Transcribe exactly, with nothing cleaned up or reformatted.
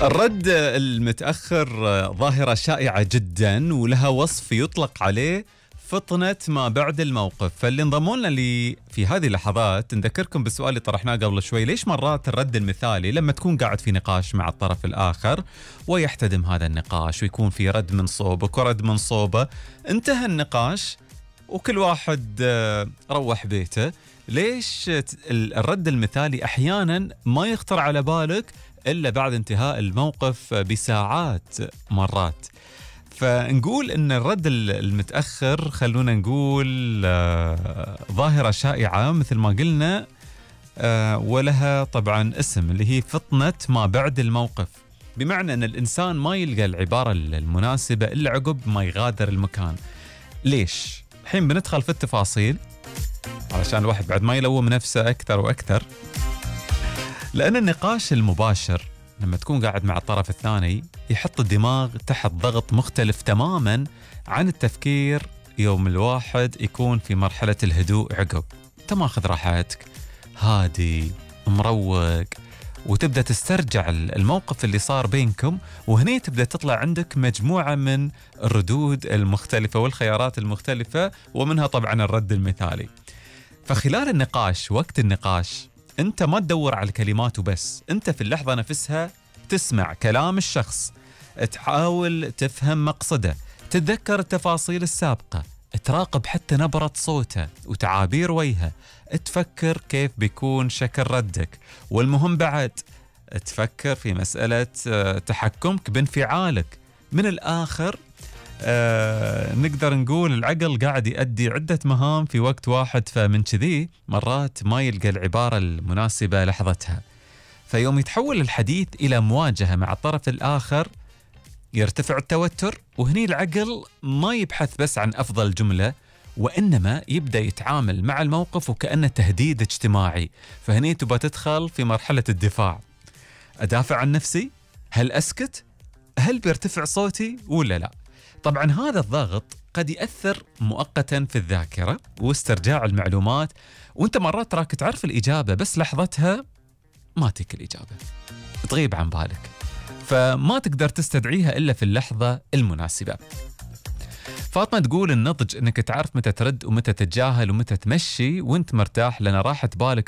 الرد المتأخر ظاهرة شائعة جدا ولها وصف يطلق عليه فطنة ما بعد الموقف. فاللي انضموا لنا لي في هذه اللحظات نذكركم بالسؤال اللي طرحناه قبل شوي: ليش مرات الرد المثالي لما تكون قاعد في نقاش مع الطرف الآخر ويحتدم هذا النقاش ويكون في رد من صوبك ورد من صوبه، انتهى النقاش وكل واحد روح بيته، ليش الرد المثالي أحيانا ما يخطر على بالك إلا بعد انتهاء الموقف بساعات مرات؟ فنقول إن الرد المتأخر خلونا نقول آه ظاهرة شائعة مثل ما قلنا، آه ولها طبعا اسم اللي هي فطنة ما بعد الموقف، بمعنى أن الإنسان ما يلقى العبارة المناسبة إلا عقب ما يغادر المكان. ليش؟ الحين بندخل في التفاصيل علشان الواحد بعد ما يلوم نفسه أكثر وأكثر. لأن النقاش المباشر لما تكون قاعد مع الطرف الثاني يحط الدماغ تحت ضغط مختلف تماما عن التفكير يوم الواحد يكون في مرحلة الهدوء عقب. انت ماخذ راحتك، هادي، مروق، وتبدأ تسترجع الموقف اللي صار بينكم، وهني تبدأ تطلع عندك مجموعة من الردود المختلفة والخيارات المختلفة، ومنها طبعا الرد المثالي. فخلال النقاش، وقت النقاش، انت ما تدور على الكلمات وبس، انت في اللحظة نفسها تسمع كلام الشخص، تحاول تفهم مقصده، تتذكر التفاصيل السابقة، تراقب حتى نبرة صوته وتعابير وجهه، تفكر كيف بيكون شكل ردك، والمهم بعد تفكر في مسألة تحكمك بانفعالك. من الآخر آه نقدر نقول العقل قاعد يؤدي عدة مهام في وقت واحد، فمن كذي مرات ما يلقى العبارة المناسبة لحظتها، فيوم يتحول الحديث إلى مواجهة مع الطرف الآخر يرتفع التوتر، وهني العقل ما يبحث بس عن أفضل جملة، وإنما يبدأ يتعامل مع الموقف وكأنه تهديد اجتماعي. فهني تبى تدخل في مرحلة الدفاع. أدافع عن نفسي؟ هل أسكت؟ هل بيرتفع صوتي ولا لا؟ طبعا هذا الضغط قد يأثر مؤقتا في الذاكرة واسترجاع المعلومات، وانت مرات تراك تعرف الإجابة بس لحظتها ما تيك الإجابة، تغيب عن بالك، فما تقدر تستدعيها إلا في اللحظة المناسبة. فاطمة تقول النضج انك تعرف متى ترد ومتى تتجاهل ومتى تمشي وانت مرتاح، لأن راحة بالك